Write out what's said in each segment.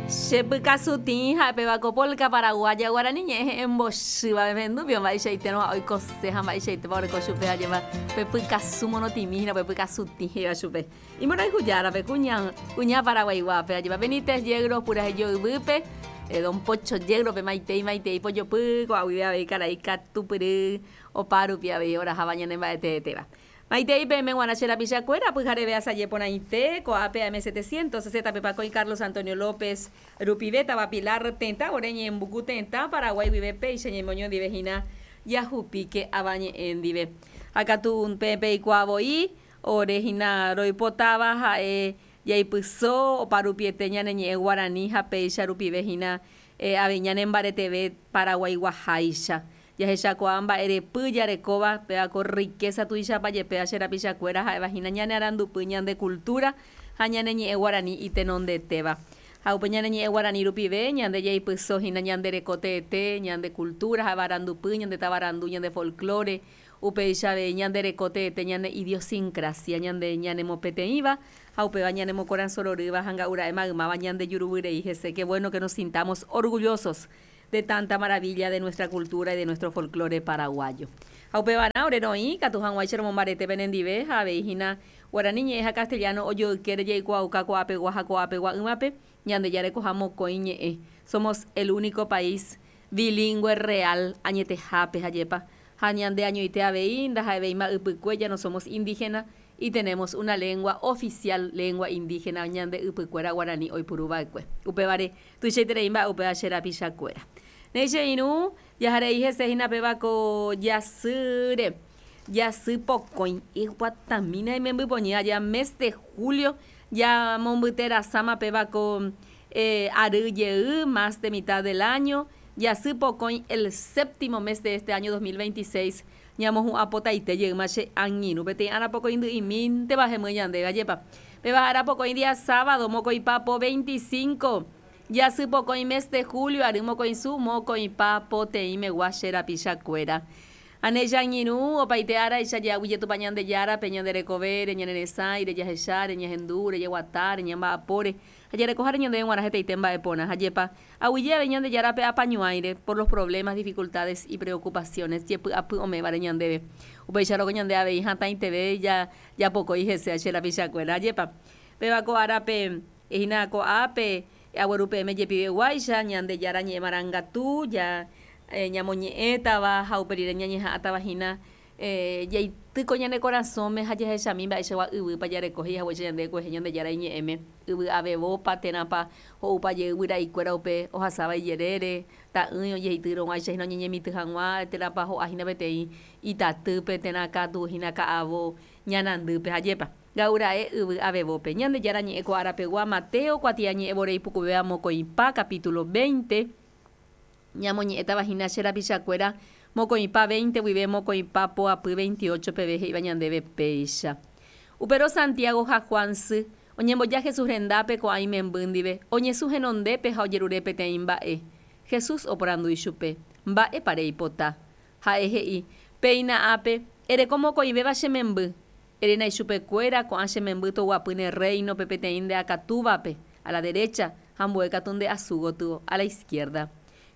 Che pykasutĩ ha'e ko polka paraguaya guarani ñe'ẽ he'ẽmbochýva pehendúpio mba'eichaitérõ ha oikose ha mba'eichaitépa oreko chupe ajépa pe pykasu morotĩmi hína pe pykasutĩ he'íva chupe. Imborayhu járape kuña kuña paraguaiguápe ajépa Benítez Yegros purahéi joyvýpe Don Pocho Yegros-pe maitei maitei pojopy ko'a guive avei karai katupyry opárupi avei oraháva ñane mba'eteetéva. Maitei peẽme g̃uarã che rapichakuéra, pyhareve asaje porãite, ko'ápe AM 760 pe Pakõi Carlos Antonio López rupive, táva Pilar tetã vore Ñeembuku tetã Paraguái guive péicha ñemoño ndive hína jahupíke avañe'ẽ ndive. Ha katu peẽ peikuaa voi, ore hína roipotáva ha'e jaipyso oparupiete ñane ñe'ẽ guarani ha péicha rupive hína avei ñanembareteve paraguaiguaháicha. Jahechakuaa mba'erepy jarekóva, péva ko riqueza tuichapa jepéva che rapichakuéra ha'éva hína ñane arandupy, ñande cultura ha ñane ñe'ẽ guarani itenondetéva. Ha upe ñane ñe'ẽ guarani rupive ñande jaipyso hína ñande reko teete, ñande cultura ha'éva arandupy, ñande tavarandu, ñande folklore, upéicha avei ñande reko teete, ñane idiosincrasia, ñande ñanemopeteĩva ha upéva ñanemokorasõ rorýva ha nga'ura'e maymáva ñande juruvyrei hese. Qué bueno que nos sintamos orgullosos de tanta maravilla de nuestra cultura y de nuestro folklore paraguayo. Ha upevarã ore roĩ katu hag̃uáicha romombarete penendive ha avei hína guarani ñe'ẽ ha castellano ojoykére jaikuaauka ko'ápegua ha ko'ápegua'ỹvape ñande jarekoha mokõi ñe'ẽ. Somos el único país bilingüe real añetehápe ha jepa ha ñande añoite avei ndaha'evéima ypykue ya no somos indígena y tenemos una lengua oficial lengua indígena ñande ypykuéra guarani oipuruva'ekue. Upévare Tuichaiterei mba'e upéva che rapichakuéra. Néi che irũ, jaharei hese hína péva ko jasýre, jasy pokõi, eguatamína imembypoñy aja mes de julio jamombyterasáma péva ko ary jey, más de mitad del año, jasy pokõi el séptimo mes de este año 2026 ñamohu'ã potaite jeýma che angirũ peteĩ ára pokõi ndy'imínteva hemýi ñandéve, ajépa. Péva ára pokõi día sábado, mokõipa po 25, jasy pokõi mes de julio ary mokõisu mokõipa poteĩmegua che rapichakuéra. Ha ne che angirũ, opaite áraicha jeaguyje Tupã Ñandejárape, ñande rekovére, ñane resãire, jahecháre, ñahendúre, jeguatáre, ñamba'apóre, ha jarekoháre ñandéve g̃uarã hetaite mba'e porã. Ha jepa, aguyje avei Ñandejárape apañuãire, por los problemas, dificultades y preocupaciones, jepy'apy ome'ẽvare ñandéve. Upéicharõ ko ñande avei hatãiteve ja Japokói hese che rapichakuéra. Ajépa, péva ko árape hína ko'ápe agueru peẽme jepiveguáicha Ñandejára ñe'ẽ marangatu, ja ñamoñe'ẽtava ha upe rire ñañeha'ãtava hína jaity ko ñane korasõme ha jahechami mba'eichagua yvýpa jareko he'i haguéicha ñande kuehe Ñandejára iñe'ẽme, yvy avevópa térãpa ho'upa jey guyra'ikuéra upe ohasáva ijerére, ta'ỹi ojeityrõguáicha hína oñeñemitỹ hag̃ua térãpa ho'a hína peteĩ itatýpe térã katu hína ka'avo ñanandýpe. Ha jepa, ga'ura'e yvy avevópe. Ñandejára ñe'ẽ ko ára pegua, Mateo kuatiañe'ẽ vore ipukuvéva mokõipa, capítulo 20, ñamoñe'ẽtava hína che rapichakuéra mokõipa 20 guive mokõipa poapy 28 peve he'íva ñandéve péicha. Upérõ Santiago ha Juan sy, oñemboja Jesús rendápe ko'ã imemby ndive, oñesũ henondépe ha ojerure peteĩ mba'e. Jesús oporandu ichupe, Mba'épa reipota? Ha'e he'i, Péina ápe, ereko mokõivéva che memby. Eréna ichupe kuéra, ko'ã che memby toguapy ne rréinope peteĩ nde akatúvape, a la derecha, ha ambue katu nde asu gotyo, a la izquierda.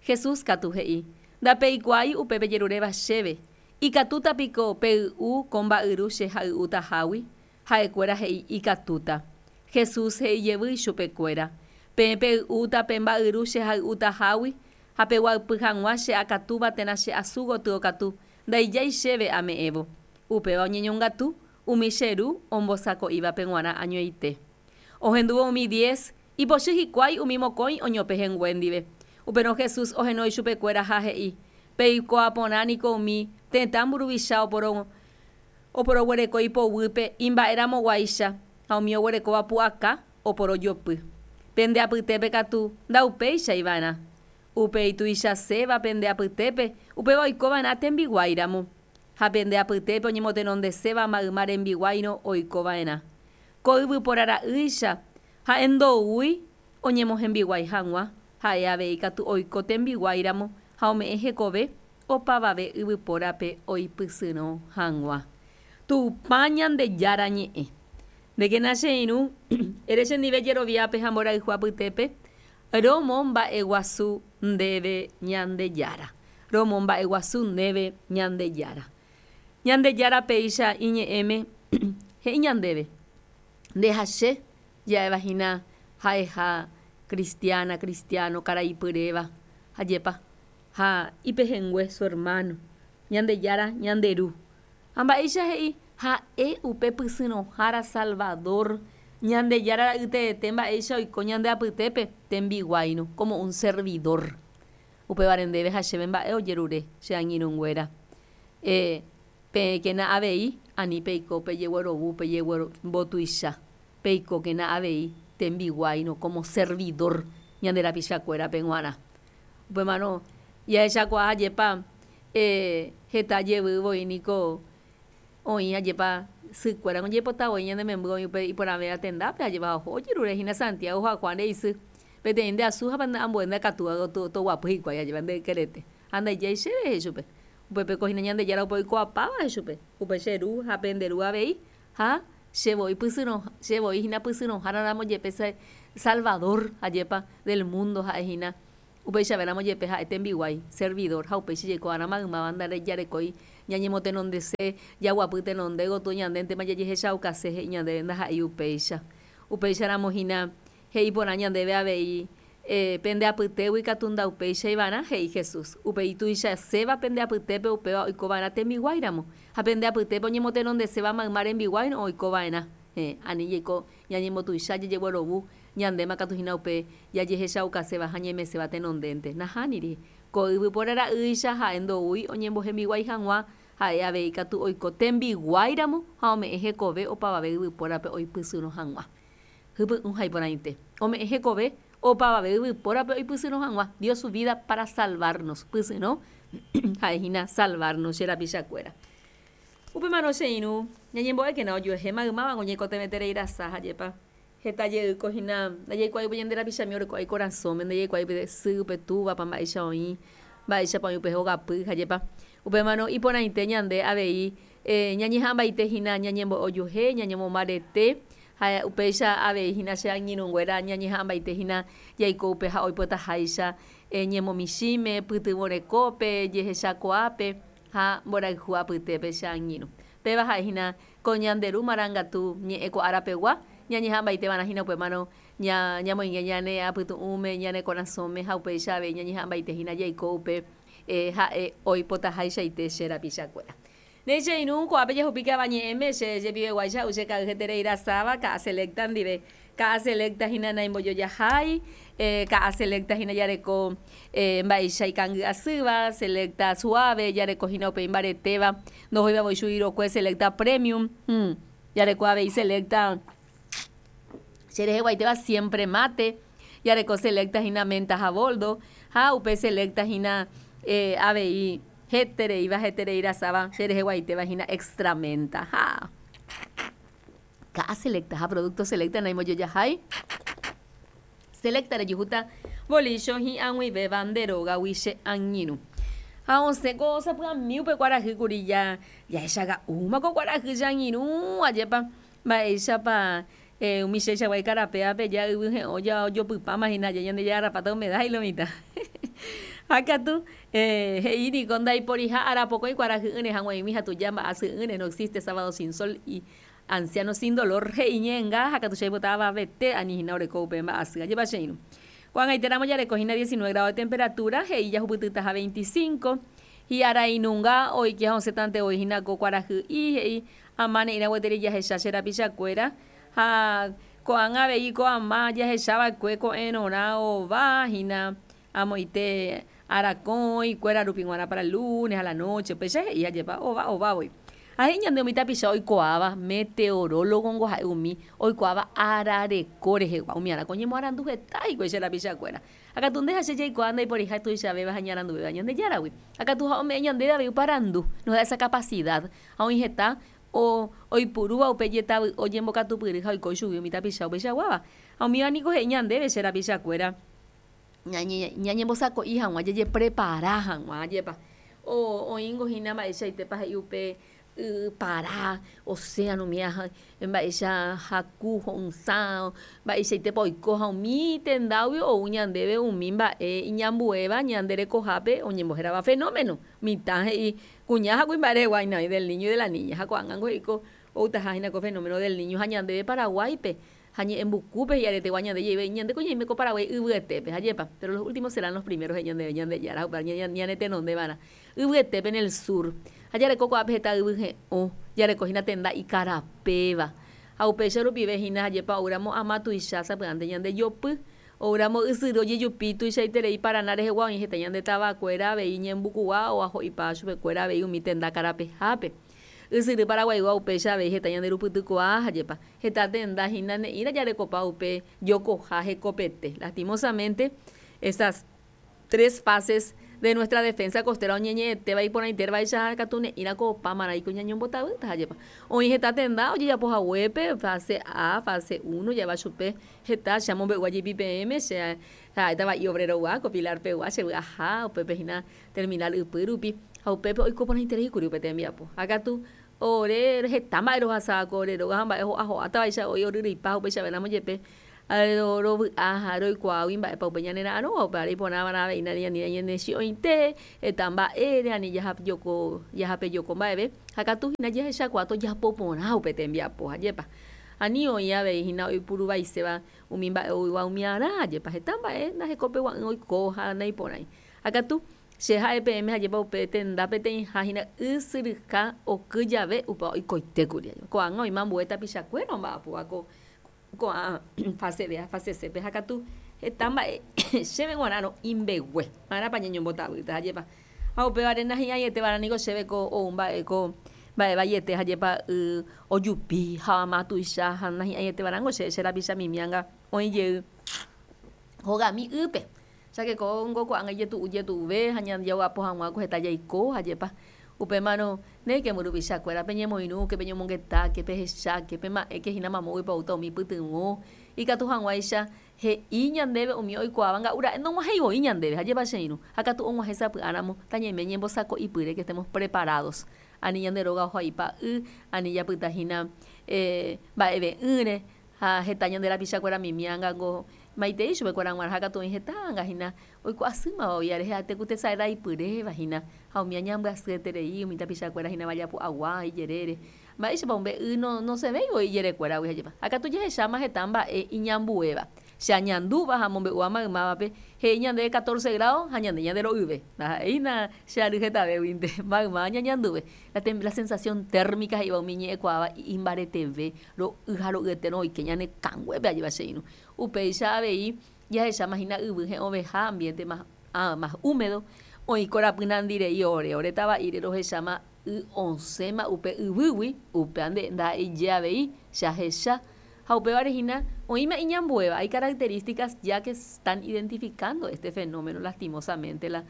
Jesús katu he'i, Ndapeikuaái upe pejeruréva chéve. Ikatúta piko pey'u ko mba'yru che hay'utahágui? Ha'ekuéra he'i, Ikatúta. Jesús he'i jevy ichupe kuéra, Peẽ pey'úta pe mba'yru che hay'utahágui, Ha peguapy hag̃ua che akatúva térã che asu gotyo katu, ndaijái chéve ame'ẽvo. Upéva oñeñongatu umi che ru ombosako'ívape g̃uarã añoite. Ohendúvo umi diez, ipochy hikuái umi mokõi oñopehẽngue ndive. Upérõ Jesús ohenói chupekuéra ha he'i, Peikuaa porã niko umi tetã mburuvicha oporo oporoguereko ipoguýpe imba'eramoguáicha ha umi oguerekóva pu'aka oporojopy. Pende apytépe katu ndaupéichai va'erã. Upe ituichaséva pende apytépe, upéva oiko va'erã tembiguái ramo. Ha pende apytépe oñemotenondeséva mayma rembiguáirõ oiko va'erã. Ko yvypóra ra'ýicha, ha'e ndoúi oñemohembiguái hag̃ua, ha'e avei katu oiko tembiguái ramo ha ome'ẽ hekove opavave yvypórape oipysyrõ hag̃ua. Tupã Ñandejára ñe'ẽ. Ndékena che irũ, ere chendive jeroviápe ha mborayhu apytépe, Romomba'eguasu ndéve Ñandejára. Romomba'eguasu ndéve Ñandejára. Ñandejára péicha iñe'ẽme he'i ñandéve, Nde ha che ja'éva hína ha'eha cristiana, cristiano, karai pyréva, ajépa, ha ipehẽngue, su hermano, Ñandejára ñande Ru. Ha mba'éicha he'i? Ha'e upe pysyrõhára Salvador, Ñandejára ra'y teete mba'éicha oiko ñande apytépe tembiguáirõ, como un servidor. Upévare ndéve ha chéve mba'e ojerure che angirũnguéra. E, peẽkena avei ani peiko pejeguerovu pejeguerombotuicha, peikókena avei tembiguáirõ, como servidor, ñande rapichakuérape g̃uarã. Upémarõ jahechakuaa ajépa e, heta jevy voi niko oĩ ajépa sykuéra ojeipota voi ñane memby oĩ upe iporãvéva tendápe ajépa oho ojerure hína Santiago ha Juan re'isy peteĩ nde asu ha ambue nde akatúva gotyo toguapy hikuái ajépa nde ykerete ha ndaijái chéve he'i chupe upépeko hína Ñandejára upe oikuaapáva he'i chupe upe che ru ha pende ru avei ha che voi pysyrõ che voi hína pysyrõhára ramo jepe Salvador ajépa del mundo ha'e hína Upeichavéramo jepe ha'e tembiguái, servidor, ha upéicha jaikuaarã maymáva ndajarekói ñañemotenondese, jaguapy tenonde gotyo ñandéntema jajehechaukase he'i ñandéve ndaha'éi upéicha. Upéicharamo hína he'i porã ñandéve avei, Pende apytégui katu ndaupéichaiva'erã, he'i Jesús. Upéi tuichaséva pende apytépe upéva oikova'erã tembiguáiramo, ha pende apytépe oñemotenondeséva mayma rembiguáirõ oikova'erã. Héẽ, ani jaiko ñañembotuicha jajeguerovu Ñandéma katu hína upe jajehechaukaséva ha ñaimeséva tenondénte. Nahániri. Ko yvypóra ra'ýicha ha'e ndoúi oñembohembiguái hag̃ua, ha'e avei katu oiko tembiguáiramo ha ome'ẽ hekove opavave yvypórape oipysyrõ hag̃ua. Hypy'ũ ha iporãite. Ome'ẽ hekove opavave yvypórape oipysyrõ hag̃ua. Dio su vida para salvarnos. Pysyrõ ha'e hína salvarnos che rapichakuéra. Upémarõ che irũ, ñañembo'ékena ojuehe maymáva oñeikotevẽterei rasa ha jepa. Heta jeýko hína ndajaikuaái upe ñande rapichami orekóva ikorasõme, ndajaikuaái upe sy, upe túvapa mba'éicha oĩ, mba'éichapa oĩ upe hogapy ha jepa. Upémarõ iporãite ñande avei ñañeha'ãmbaite hína ñañembo'e ojuehe, ñañemombarete ha upéicha avei hína che angirũnguéra ñañeha'ãmbaite hína jaiko upe ha oipotaháicha ñemomichĩme, pytyvõ rekópe, jehechakuaápe ha mborayhu apytépe che angirũ. Péva ha'e hína Ko ñande Ru marangatu ñe'ẽ ko ára pegua, ñañeha'ãmbaite va'erã hína upémarõ ñamoinge ñane apytu'ũme, ñane korasõme ha upéicha avei ñañeha'ãmbaite hína jaiko upe ha'e oipotaháichaite che rapichakuéra. Néi che irũ, ko'ápe jahupíke ava ñe'ẽme, che jepiveguáicha ha'u che ka'y heterei rasáva, ka'a selecta ndive. Ka'a selecta hína naimbojojahái, ka'a selecta hína jareko mba'éicha ikangy asýva, selecta suave, jareko hína upe imbaretéva, ndohóiva voi chugui rokue, selecta premium, jareko avei selecta che reheguaitéva siempre mate, jareko selecta hína menta ha boldo, ha upe selecta hína avei hetereíva heterei rasáva che reheguaitéva hína extra menta. Ha. Ka'a selecta ha producto selecta naimbojojahái. Selecta rejuhúta bolícho hi'ag̃uivéva nde rógagui che angirũ. Ha osẽ ko sapy'ami upe kuarahy kuri ja jahechaga'úma ko kuarahy che angirũ ajépa mba'éichapa umi cheichagua ikarapévape ja yvy he'õ ja ojopypáma hína ja Ñandejára rapáta humedad he'i lo mitã. Ha katu he'i niko ndaiporiha ára pokõi kuarahy'ỹre hag̃uaig̃ui ha tuja mba'asy'ỹre no existe sábado sin sol y Anciano sin dolor he'i ñe'ẽnga ha katu che aipota avavete ani hína oreko upe mba'asy. Ajépa che irũ. Ko'ag̃aitéramo jareko hína 19 grado de temperatura, he'i jahupytytaha 25. Hi'arainunga oike ha osẽtante voi hína ko kuarahy'i, he'i ama ne'ĩra gueteri jahecha che rapichakuéra. Ha ko'ág̃a avei ko ama jahecha va'ekue ko'ẽrõrã ova hína amoite arakõi kuéra rupi g̃uarã para lunes a la noche, upéicha he'i ajépa ova ova voi. Ha he'i ñande umi tapicha oikuaáva meteorólogo-ngo ha'e umi oikuaáva ára reko rehegua, umi ára ko oñemoarandu heta hikuái che rapichakuéra. Ha katu nde ha che jaikuaa ndaiporiha tuichavéva ha iñaranduvéva Ñandejáragui. Ha katu ha ome'ẽ ñandéve avei upe arandu, nos da esa capacidad, ha oĩ heta oipurúva upe jetavy ojembokatupyry ha oiko ichugui umi tapicha upeichaguáva. Ha umíva niko he'i ñandéve che rapichakuéra. Ñañembosako'i hag̃ua, jajeprepara hag̃ua, ajépa. Oĩngo hína mba'eichaitépa he'i upe Y para, océano umíva ha mba'éicha haku, ho'ysã, mba'eichaitépa oiko ha umi tendágui ou ñandéve umi mba'e iñambuéva ñande rekohápe oñembohérava fenómeno. Mitã he'i kuña ha kuimba'e rehegua hína oĩ del niño y de la niña ha ko'ág̃ango he'i ko outaha hína ko fenómeno del niño ha ñandéve Paraguáipe ha ñe'ẽmbukúpe hi'aretegua ñande jeyve ñandéko ñaime ko Paraguái yvyetépe ha jepa pero los últimos serán los primeros he'i ñandéve Ñandejára ha upéva ñanetenonde va'erã Yvyetépe en el sur. Ha jareko ko'ápe heta yvy he'õ, jareko hína tenda ikarapéva. Ha upéicha rupive hína ajépa oúramo ama tuicha sapy'ánte ñande jopy, oúramo ysyry ojejupi tuichaiterei Parana rehegua oĩ heta ñande tavakuéra avei ñembukugua oaho'ipa chupekuéra avei umi tenda karapehápe. Ysyry Paraguaigua upéicha avei heta ñande rupytykuaa ajépa heta tenda hína ne'ĩra jarekopa upe jokoha hekopete. Lastimosamente, estas Tres fases de nuestra defensa costera oñeñe'ẽtéva iporãitérvaicha ha katu ne'ĩra ko opa marãiko ñañombotavýta ha jepa. Oĩ heta tenda ojejapo haguépe fase A, fase uno ja'éva chupe heta che amombe'úva jepi peẽme che ha'éta va'i obrero-gua ko Pilar-pegua che vy'aha upépe hína terminal ypy rupi ha upépe oiko porãiterei kuri upe tembiapo. Ha katu ore heta mba'e rohasa ko ore róga ha mba'e ho'a ho'átavaicha oĩ oryryipa upeichavéramo jepe Rovy'a ha roikuaágui mba'épa upe ñane ra'arõva, upévare iporãva'erã avei ñane chi'õite heta mba'ére, ani jahapejoko mba'eve, ha katu hína jahechakuaa tojapo porã upe tembiapo, ajépa. Ani oĩ avei hína oipuruvaiséva umi mba'e oúva umiarã, ajépa. Heta mba'e ndahekopegua'ỹ oiko ha naiporãi. Ha katu che ha'e peẽme ajépa upe tenda peteĩha hína ysyryha oky jave upéva oikoitékuri. Ko'ág̃a oĩma ambue tapichakuéra omba'apóva ko Ko'ã fase B ha fase C-pe ha katu heta mba'e chéve g̃uarãrõ imbegue. Ma'erãpa ñañombotavýta ha jepa. Ha upévare nahi'ãieteva'erã niko chéve ko ou mba'e ko mba'e vaiete ha jepa y ojupi ha ama tuicha ha nahi'ãieteva'erãngo chéve che rapicha mimi anga oĩ jey hogami ýpe. Cháke kóngo ko'ág̃a ijetu'u jetu'uve ha ñandejaguapo hag̃ua ko heta jaiko ha jepa. Upémarõ, néike mburuvichakuéra, peñemoirũke, peñomongetáke, pehecháke, pema'ẽke hína mamóguipa oúta umi pytyvõ, ikatu hag̃uáicha he'i ñandéve umi oikuaáva nga'u ra'e nog̃uahẽi voi ñandéve, ha jepa che irũ, ha katu og̃uahẽ sapy'áramo tañaime ñembosako'ipyre que estemos preparados, ani ñande róga oho'aipa y, ani japyta hína mba'eve'ỹre, Ha heta ñande rapichakuéra mimi ángango maitei chupekuéra g̃uarã, ha katu oĩ heta ánga hína oikuaasýmava oĩ rehe ha'ete ku tesay raipyréva hína, ha umi añambyasyeterei umi tapichakuéra hína vajapu'agua ijerére. Mba'éichapa upe y nosẽvéi voi ijerekuéragui ha'épa. Ha katu jahecháma heta mba'e iñambuéva. Che añandúva ha amombe'úva maymávape, he'i ñandéve catorce grado ha ñande ñande ro'yve. Ndaha'éina che ary hetavéguinte, maymáva ñañanduve. La la sensación térmica he'íva umi ñe'ẽkuaáva imbareteve, ro'y ha ro'yeterõ oike ñane kanguépe ajépa che irũ. Upéicha avei jahecháma hína yvy he'õveha, ambiente más, más húmedo, oĩ korapy nandi rei ore, ore tava'íre rohecháma y osẽma upe yvýgui, upéva nde ndaha'eije avei che ahecha. Ha upévare hína oĩma iñambuéva, hay características ya que están identificando este fenómeno lastimosamente la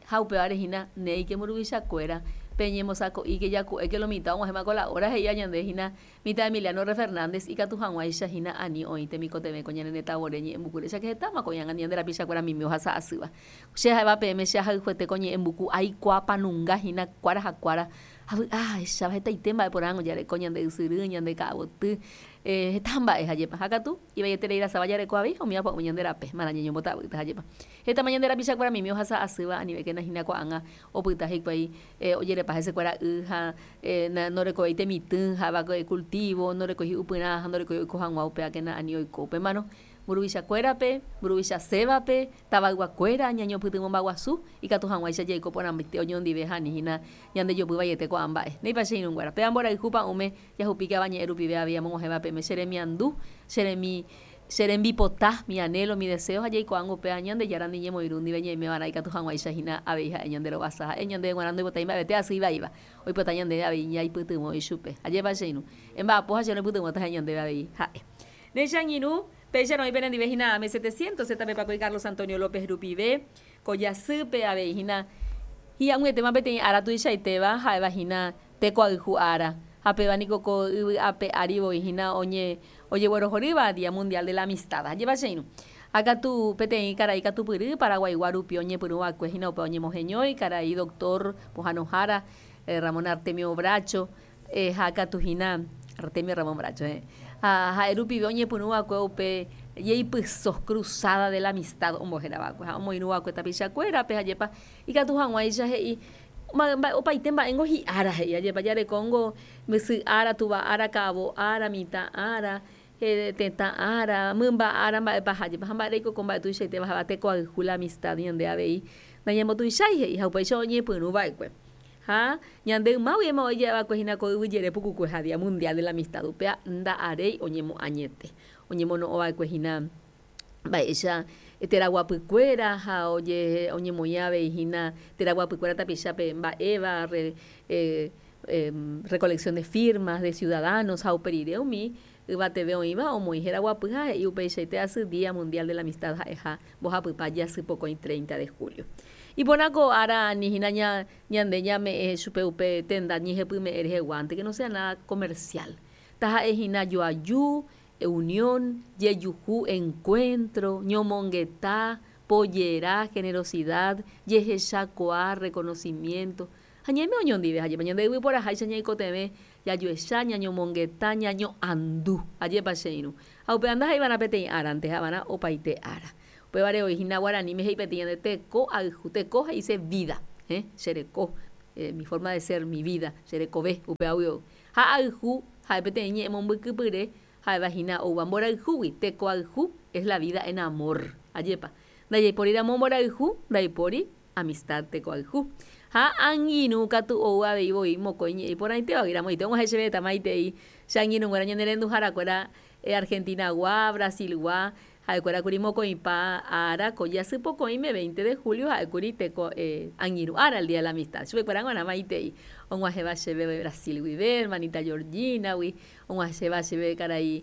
Ha upévare hína néike mburuvichakuéra, peñembosako'íke jaku'éke lo mitã og̃uahẽma ko la hora he'íva ñande hína mitã Emiliano Re Fernández ikatu hag̃uáicha hína ani oĩ temikotevẽ ko ñane retã vore ñe'ẽmbuku recha que hetáma ko ñanga ñande rapichakuéra mimi ohasa asýva. Che ha'éva peẽme che ahayhuete ko ñe'ẽmbuku aikuaapanunga hína kuára ha kuára ha vy'a ahecháva hetaite mba'e porãngo jareko ñande ysyry, ñande ka'avoty, heta mba'e ha jepa. Ha katu ivaieterei rasáva jareko avei ha umíva pa'ũme ñande rape, marã ñañombotavýta ha jepa. Hetama ñande rapichakuéra mimi ohasa asýva anivékena hína ko'ág̃a opyta hikuái ojerepa hesekuéra y ha norekovéi temitỹ ha'éva cultivo, norekói hi'upyrã ha ndorekói oiko hag̃ua upévakena ani oiko. Upémarõ mburuvichakuérape, mburuvichasévape, tavayguakuéra ñañopytyvõmbaguasu ikatu hag̃uáicha jaiko porãmbaite oñondive ha ani hína ñandejopy vaiete ko'ã mba'e. Néipa che irũnguéra, péva mborayhu pa'ũme jahupíke avañe'ẽ rupive avei amog̃uahẽva peẽme che remiandu, che remi Che rembipota, mi anhelo, mi deseo ha jaikuaángo upéva Ñandejára ndi ñemoirũ ndive ñaime va'erã ikatu hag̃uáicha hína avei ha'e ñande rovasa. Ha'e ñandéve g̃uarã ndoipotái mba'evete asy ivaíva, oipota ñandéve avei ñaipytyvõ ichupe. Ajépa che irũ? Emba'apo ha che roipytyvõta ha'e ñandéve avei ha'e. Ne che angirũ, péicha roĩ penendive hína AM 700, ZP Paco y Carlos Antonio López rupive, ko jasýpe avei hína hi'ag̃uietéma peteĩ ára tuichaitéva ha'éva hína Tekoayhu ára, ha péva niko ko yvy ape ári voi hína oñe ojeguerohorýva Día Mundial de la Amistad. Ajépa che irũ. Ha katu peteĩ karai katupyry Paraguaigua rupi oñepyrũ va'ekue hína upe oñemoheñói, karai doctor pohãnohára. Ramón Artemio Bracho ha katu hína Artemio Ramón Bracho heẽ. Ha ha'e rupive oñepyrũ va'ekue upe jeipyso, Cruzada de la Amistad ombohéra va'ekue ha omoirũ va'ekue tapichakuérape ha jepa ikatu hag̃uáicha he'i opaite mba'éngo hi'ára he'i ajépa jarekóngo sy ára, túva ára, ka'avo ára, mitã ára, tetã ára, mymba ára mba'epaha jepa ha mba'e reiko ko mba'e tuichaitéva ha'éva tekoayhu la amistad ñande avei nañambotuichái he'i ha upéicha oñepyrũ va'ekue. Ha ñande yma guivéma oĩ ja'e va'ekue hína ko yvy jere pukukue ha Día Mundial de la Amistad upéva nda'aréi oñemoañete. Oñemono'õ va'ekue hína mba'éicha teraguapykuéra ha oñemoĩ avei hína teraguapykuéra tapichápe mba'éva recolección de firmas de ciudadanos ha upe rire umi yvateve oĩva omoĩ heraguapy ha he'i upeichaite asy Día Mundial de la Amistad ha'eha mbohapypa jasy pokõi 30 de julio. Iporã ko ára ani hína ñande ñame'ẽ chupe upe tenda ñehepyme'ẽ reheguánte, que no sea nada comercial. Taha'e hína joaju, unión, jejuhu, encuentro, ñomongeta, pojera, generosidad, jehechakuaa, reconocimiento, ha ñaime oñondive ha jepa ñande yvyporaháicha ñaikotevẽ jajuecha, ñañomongeta, ñaño'andu. Ajépa che irũ. Ha upéva ndaha'eiva'erã peteĩ árante, ha'evarã opaite ára. Upévare oĩ hína guaraníme he'i peteĩ ñande teko ayhu. Teko he'ise vida, eh, che reko, mi forma de ser, mi vida, che rekove, upévagui ou. Ha ayhu ha'e peteĩ ñe'ẽ mombykypyre ha'éva hína oúva mborayhúgui, teko ayhu es la vida en amor. Ajépa. Ndajaipóri ramo mborayhu, ndaipóri amistad teko ayhu. Ha angirũ katu ou avei voi mokõi ñe'ẽ iporãitévagui ramoite og̃uahẽ chéve heta maitei che angirũnguéra ñane renduharakuéra Argentina-gua, Brasil-gua, Ha'ekuérakuri mokõipa ára ko jasy pokõime, 20 de julio, ha'ékuri teko angirũ ára, el Día de la Amistad. Chupekuéra g̃uarã maitei og̃uahẽva chéve Brasil guive, hermanita Georgina-gui, og̃uahẽva chéve karai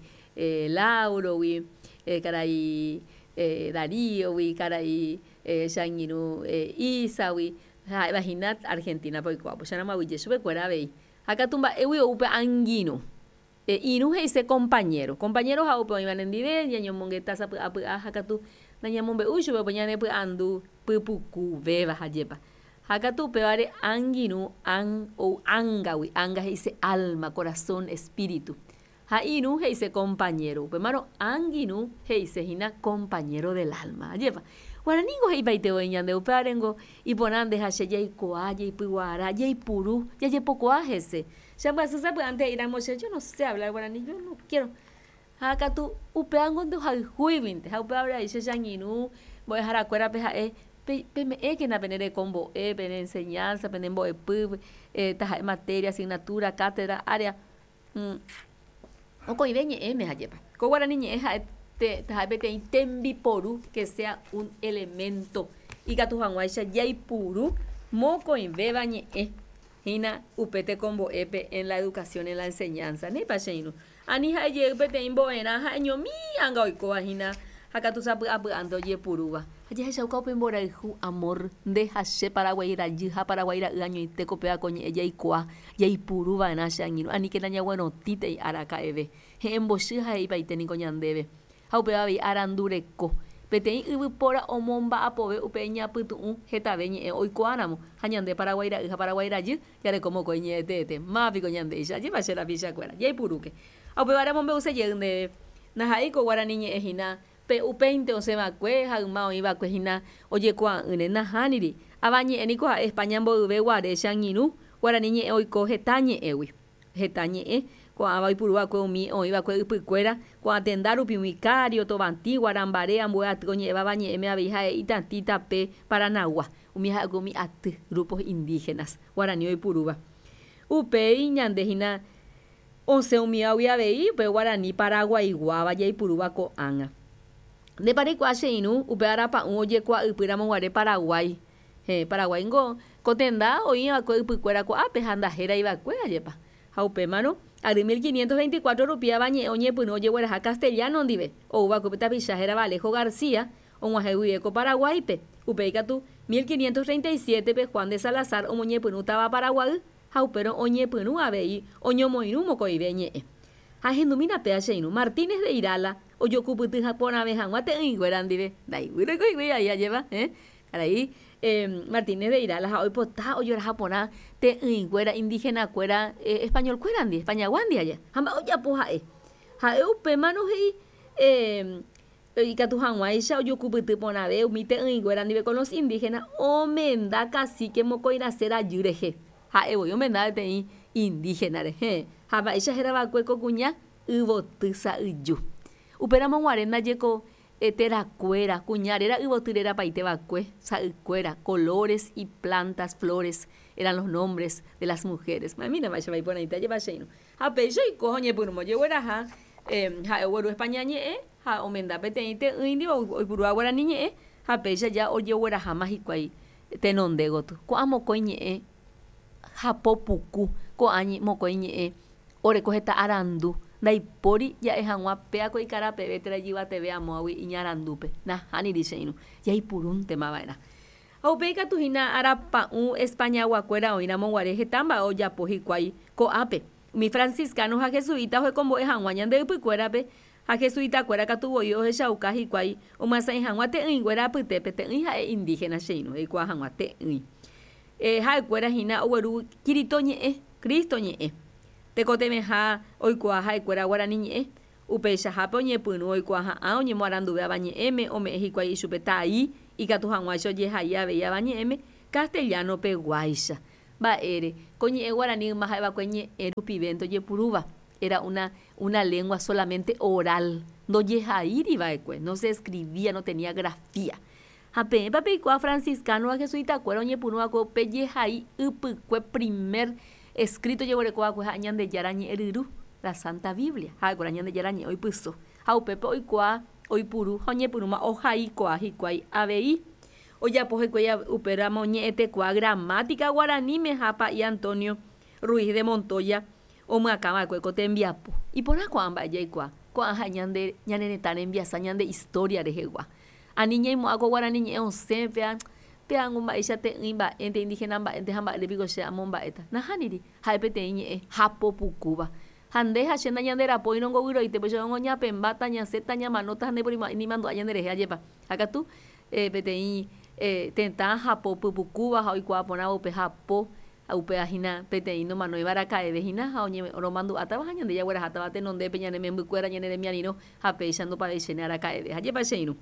Lauro-gui, karai Darío-gui, karai che angirũ Isa-gui, ha'éva hína Argentina-pe oikóva. Upéicharamo aguyje chupekuéra avei. Ha katu mba'égui ou pe angirũ. Pe irũ he'ise kompañéro. Kompañéro ha'e upe oĩva nendive, ñañomongeta sapy'a py'a ha katu nañamombe'úi chupe upe ñanepy'andu pypukuvéva ha jepa. Ha katu upévare angirũ an ou ángagui, ánga he'ise alma, corazón, espíritu. Ha irũ he'ise kompañéro. Upémarõ angirũ he'ise hína compañero del alma. Ajépa. Guaraníko he'ipaite voi ñande, upévarengo iporã nde ha che jaikuaa, jaipyguara, jaipuru, jajepokuaa hese. Che ambyasy sapy'ánte he'íramo che, yo no sé hablar guaraní, yo no quiero. Ha katu upévango ndohayhúiguinte, ha upéva avei che changirũ mbo'eharakuérape ha'e, pe, peme'ẽkena pene rekombo'e, pene enseñanza, pene mbo'epy, taha'e materia, asignatura, cátedra, área, mokõive ñe'ẽme ha'épa. Ko guarani ñe'ẽ ha'e taha'e peteĩ tembiporu que sea un elemento ikatu hag̃uáicha jaipuru mokõivéva ñe'ẽ. Hína upe tekombo'épe en la educación en la enseñanza. Néipa che irũ. Ani ha'e jey peteĩ mbo'erã ha'eñomi anga oikóva hína ha katu sapy'apy'ánte ojepurúva. Ha jahechauka upe mborayhu, amor, nde ha che Paraguái rajy ha Paraguái ra'y añoite ko péva ko ñe'ẽ jaikuaa, jaipuru va'erã che angirũ. Aníkena ñaguerotĩtei araka'eve. He'ẽmbochy ha he'ipaite niko ñandéve. Ha upéva avei arandu reko. Peteĩ yvypóra omomba'apove upe iñapytu'ũ hetave ñe'ẽ oikuaáramo, ha ñande Paraguái ra'y ha Paraguái rajy jareko mokõi ñe'ẽ teete. Máva piko ñandéicha? Ajépa che rapichakuéra. Jaipurúke. Ha upévare amombe'use jey ndéve, ndaha'éi ko guarani ñe'ẽ hína pe upéinte osẽ va'ekue ha yma oĩ va'ekue hína ojekuaa'ỹre. Nahániri. Ava ñe'ẽ niko ha'e España mboyve guare che angirũ, guarani ñe'ẽ oiko heta ñe'ẽgui. Heta ñe'ẽ, ko'ãva oipuru va'ekue umi oĩ va'ekue ypykuéra, ko'ã tenda rupi umi Kário, Tovatĩ, Guarambare, ambue aty oñe'ẽvava ñe'ẽme avei ha'e Itatĩ, Tape, Paranagua. Umi ha'ekue umi aty, grupos indígenas, guarani oipurúva. Upéi ñande hína osẽ umívagui avei upe guarani paraguaiguáva jaipurúva ko'ág̃a. Ndépa reikuaa che irũ upe arapa'ũ ojekuaa ypy ramo guare Paraguái Héẽ, Paraguái niko ko tenda oĩ va'ekue ypykuéra ko'ápe ha ndahérai va'ekue, ajépa. Ha upémarõ, ary 1524 rupi ava ñe'ẽ oñepyrũ ojegueraha castellano ndive, ou va'ekue pe tapicha hérava Alejo García, og̃uahẽ guive ko Paraguáipe. Upéi katu, 1537-pe Juan de Salazar omoñepyrũ táva Paraguay ha upérõ oñepyrũ avei oñomoirũ mokõive ñe'ẽ. Ha ehendumína péa che irũ, Martínez de Irala ojokupyty porãve hag̃ua te'ỹinguéra ndive, ndaiguýrõ oiko hikuái ai ajépa, héẽ. Karai Martínez de Irala ha oipota ojoraha porã te'ỹinguéra indígena-kuéra español-kuérandi, España-guándi aja. Ha mba'e ojapo ha'e? Ha'e upémarõ he'i ikatu hag̃uáicha ojokupyty porãve umi te'ỹinguéra ndive con los indígenas omenda cacique mokõi rase rajy rehe. Ha'e voi omenda peteĩ indígena rehe. Ha mba'éicha héra va'ekue ko kuña? Yvoty sa'yju. Upéramo guare ndaje ko terakuéra, kuña réra yvoty rerapaite va'ekue, sa'ykuéra, colores y plantas, flores, eran los nombres de las mujeres. Ma'ẽmína mba'éichapa iporãite ajépa che irũ. Ha péicha oiko ha oñepyrũma ojegueraha ha'e ogueru España ñe'ẽ ha omenda peteĩ te'ỹi ndive oipurúva guarani ñe'ẽ ha péicha ja ojegueraháma hikuái tenonde gotyo. Ko'ã mokõi ñe'ẽ hapo puku, ko'ã mokõi ñe'ẽ oreko heta arandu, ndaipóri ja'e hag̃ua péa ko ikarapeve térã ijyvateve amóagui iñarandúpe. Nahániri che irũ, jaipurúntema va'erã. Ha upéi katu hína arapa'ũ Españaguakuéra oĩramo guare heta mba'e ojapo hikuái ko'ápe. Umi franciscano ha jesuita ohekombo'e hag̃ua ñande ypykuérape, ha jesuitakuéra katu voi ohechauka hikuái omyasãi hag̃ua te'ỹinguéra apytépe, te'ỹi ha'e indígena che irũ, eikuaa hag̃ua te'ỹi. Ha'ekuéra hína ogueru Kirito ñe'ẽ, Cristo ñe'ẽ. Tekotevẽha oikuaa ha'ekuéra guarani ñe'ẽ. Upeichahápe oñepyrũ oikuaaha'ã oñemoaranduve avañe'ẽme, ome'ẽ hikuái ichupe tai ikatu hag̃uáicha ojehai avei avañe'ẽme castellano peguáicha. Mba'ére, ko ñe'ẽ guarani yma ha'eva'ekue ñe'ẽ rupivénte ojepurúva, era una una lengua solamente oral, ndojehaíri va'ekue, no se escribía, no tenía grafía. Ha peẽpa peikuaa franciscano ha jesuita-kuéra oñepyrũ va'ekue upe jehai ypykue primer escrito ojeguereko va'ekue ha'e Ñandejára ñe'ẽ ryru, la Santa Biblia, ha'ekuéra Ñandejára ñe'ẽ oipyso. Ha upépe oikuaa, oipuru ha oñepyrũma ohaikuaa hikuái avei. Ojapo hikuái upéramo ñe'ẽtekuaa gramática guaraníme ha Pa'i Antonio Ruiz de Montoya omyakã va'ekue ko tembiapo. Iporã ko'ã mba'e jaikuaa, ko'ã ha'e ñande ñane retã rembiasa, ñande historia rehegua. Ani ñaimo'ã ko guarani ñe'ẽ osẽ péa, péango mba'éicha te'ỹi mba'énte, indígena mba'énte ha mba'ére piko che amomba'éta. Nahániri, ha'e peteĩ ñe'ẽ hapo pukúva. Ha nde ha che nañanderapóirõ ngovyroite, péicha oñapẽmbáta, ñasẽta, ñamanóta ha ndaiporimo'ãi ni mandu'a ñanderehe ajépa. Ha katu, peteĩ tetã hapo pypukúva ha oikuaa porãva upe hapo, ha upéva hína peteĩ nomanóiva araka'eve hína ha oñeromandu'átava ha ñande jaguerahátava tenondépe ñane membykuéra, ñane remiarirõ ha péicha ndopaveichéne araka'eve. Ha jepa che irũ.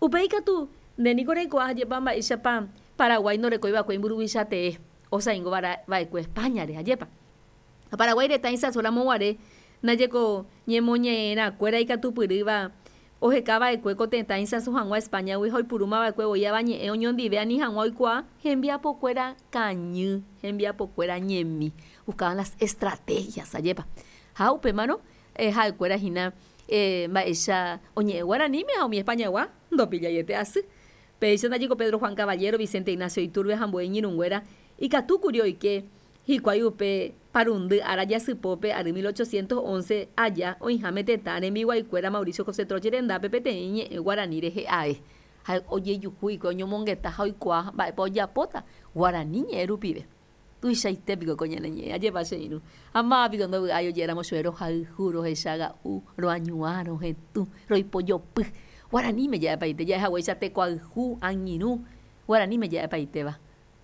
Upéi katu, nde niko reikuaa ha jepa mba'éichapa Paraguái ndorekói va'ekue imburuvicha tee, osaingo va'ekue España-re, ajépa. Ha Paraguái retã isãso ramo guare, ndajeko ñemoñe'ẽrã kuéra ikatupyrýva oheka va'ekue ko tetã isãso hag̃ua España-gui ha oipurúma va'ekue voi avañe'ẽ oñondive ani hag̃ua oikuaa hembiapokuéra kañy, hembiapokuéra ñemi, buscaban las estrategias, ajépa. Ha upémarõ ha'ekuéra hína mba'éicha oñe'ẽ guaraníme ha umi España-gua ndopillaiete asy. Péicha ndajeko Pedro Juan Caballero, Vicente Ignacio Iturbe ha ambue iñirũnguéra ikatúkuri oike hikuái upe parundy ára jasypópe ary 1811 aja oĩháme tetã rembiguaikuéra Mauricio José Troche rendápe peteĩ ñe'ẽ guarani rehe ae. Ha ojejuhu hikuái oñomongeta ha oikuaa mba'épa ojapóta guarani ñe'ẽ rupive. Tuichaite piko ko ñane ñe'ẽ, ajépa che irũ. Ha máva piko ndovy'ái oje'éramo chupe rohayhu, rohechaga'u, roañuã, rohetũ, roipojopy. Guaraníme ja'epaite, ja'e haguéicha tekoayhu, angirũ, guaraníme ja'epaitéva.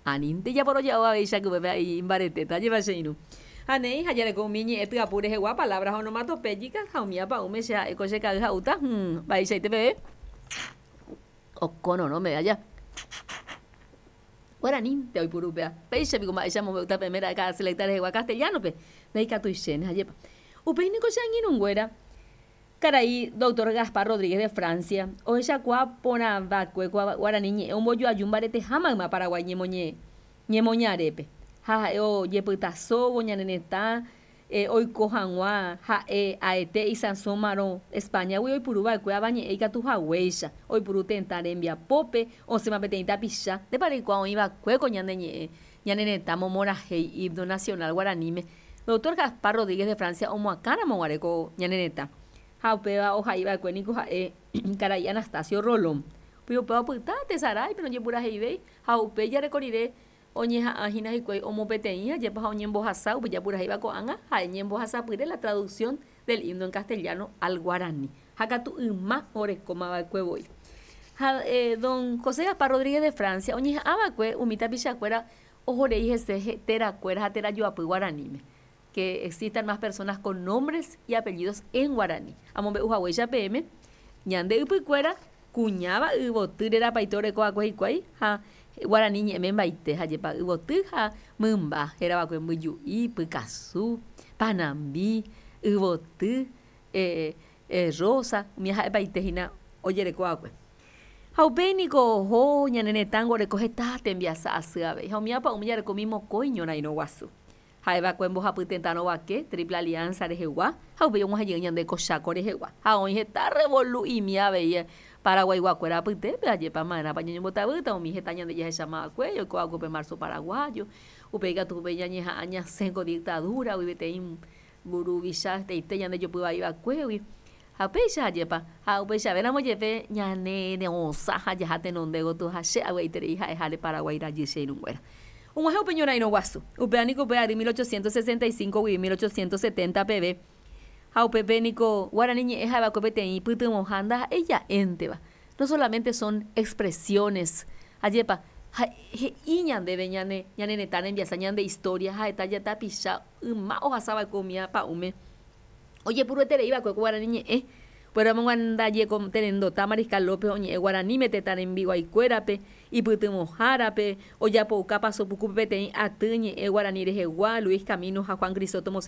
Anínte japoroja'o avei chakupépe a'i imbaretéta, ajépa che irũ. Ha néi, ha jareko umi ñe'ẽ tyapu rehegua, palabras onomatopéyicas, ha umi apa'ũme che ha'e ko che ka'y ha'úta, hũm, mba'eichaite peve okororõ meve aja. Guaranínte oipuru upéva. Péicha piko mba'éicha amombe'úta peẽme ra'e káda selecta rehegua castellano-pe, ndaikatuichéne, ajépa. Upéi niko che angirũnguéra, karai Doctor Gaspar Rodríguez de Francia, ohechakuaa porãvakue ko guarani ñe'ẽ ombojoaju mbareteha mayma Paraguái ñemoñarépe, ha ha'e ojepytasóvo ñane retã Oiko hag̃ua ha'e aete isãsómarõ España-gui oipuru va'ekue avañe'ẽ ikatu haguéicha, oipuru tetã rembiapópe, osẽma peteĩ tapicha, ndépa reikuaa oĩ va'ekue ko ñane ñe'ẽ ñane retã momorahéi himno nacional guaraníme, Doctor Gaspar Rodríguez de Francia omoakãramo guare ko ñane retã. Ha upéva ohai va'ekue niko ha'e karai Anastasio Rolón. Upéi upéva opyta tesaráipe nojepuraheivéi ha upéi jareko rire Oñeha'ã hína hikuái omopeteĩ ajépa ha oñembohasa upe japurahéiva ko'ág̃a ha'e ñembohasapyre la traducción del himno en castellano al guaraní. Ha katu yma orekóma va'ekue voi. Ha don José Gaspar Rodríguez de Francia oñeha'ãva'ekue umi tapichakuéra ohorei hese terakuéra ha terajoapy guaraníme. Que existan más personas con nombres y apellidos en guaraní. Amombe'u haguéicha peẽme, ñande ypykuéra kuñáva yvoty rerapaite oreko'akue hikuái ha guarani ñe'ẽme mbaite ha jepa yvoty ha mymba herava'ekue mbyju'i, pykasu, panambi, yvoty, rosa, umi ha'epaite hína ojereko'akue. Ha upéi niko oho ñane retãngo oreko heta tembiasa asy avei ha umi apa'ũme jareko umi mokõi ñorairõ guasu. Ha'eva'ekue mbohapy tetã rovake, Triple Alianza rehegua, ha upéi og̃uahẽ jey ñande ko Chaco rehegua. Ha oĩ heta revolu'imi avei Paraguaiguakuéra apytépe, ajépa ma'erãpa ñañombotavýta umi heta ñande jahechamava'ekue, oiko'akue upe Marzo Paraguayo, upéi katu upéi ñañeha'ã ñasẽ ko dictadura-gui peteĩ mburuvicha hetaite ñande jopy vai va'ekuégui. Ha upéicha ajépa, ha upeichavéramo jepe ñane rosã ha jaha tenonde gotyo ha che avy'aiterei ha'eháre Paraguái rajy che irũnguéra. Og̃uahẽ upe ñorairõ guasu. Upéva niko upe ary 1865 guive 1870 peve. Ha upépe niko guarani ñe'ẽ ha'eva'ekue peteĩ pytyvõha ndaha'éi ja'énteva. No solamente son expresiones. Ajépa, ha he'i ñandéve ñane ñane retã rembiasa, ñande historia ha heta jatapicha yma ohasava'ekue umíva pa'ũme. Ojepurueterei va'ekue ko guarani ñe'ẽ, upéramo ndaje ko Terendota Mariscal López oñe'ẽ guaraníme tetã rembiguaikuérape, ipytyvõhárape, ojapouka Paso Pukúpe peteĩ aty ñe'ẽ guarani rehegua, Luis Camino ha Juan Crisóstomo.